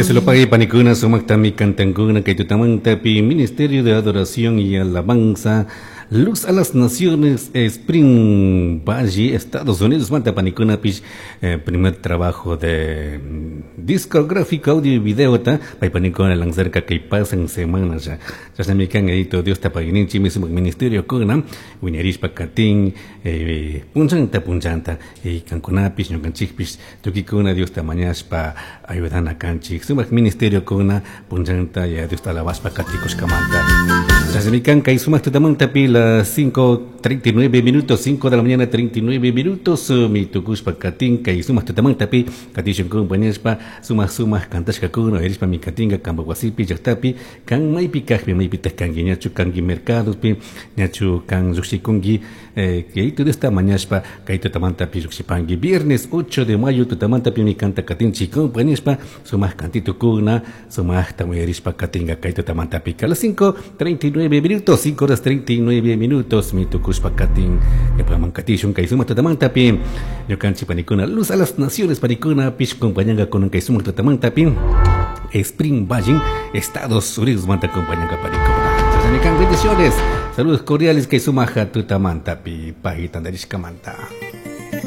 Dios lo pague, panikuna, sumaktami kantankuna, kay tutamantapi, Ministerio de Adoración y Alabanza, Luz a las Naciones, Spring Valley, Estados Unidos, manta panikunapish, primer trabajo de discográfico, audio y video, ta, pay panikuna lanzarka kay pasan semana ya. Chashnami kan Yayito Diosta paguininchikmi sumak ministerio kuna, wiñarishpa katin, punchanta punchanta, kankunapish, ñukanchikpish, Tuquicuna Diosta mañashpa ayudana canchij. Sumaj ministeriocuna punllanta ya Diosta alabashpa caticushcamanta. Chashnami can cai sumaj tutamantapi las 5:39 minutos, 5 de la mañana 39 minutos, mi tucushpa catin cai sumaj tutamantapi catishun compañashpa sumaj sumaj cantashcacuna uyarishpa mi catinga camba huasipi llajtapi can maipi cajpi maipitaj cangui ñachu cangui mercadopi ñachu can llujshicungui. Yayitu Diosta mañashpa kay tutamantapi llujshipangui. Viernes 8 de mayo tutamantapimi canta katinchik compañishpa sumaj cantitukuna sumajta uyarishpa katinga kay tutamantapi. A las 5:39 minutos, 5 horas 39 minutos mi tukushpa katin. Ñukaman katishun kay sumaj tutamantapi. Ñukanchik panikuna Luz a las Naciones panikuna pish compañanga kunan kay sumaj tutamantapi. Spring Valley, Estados Unidos manta compañanga panikuna. Chashnami kan bendiciones. Saludos cordiales kay sumaja tutamantapi pay tantarishkamanta.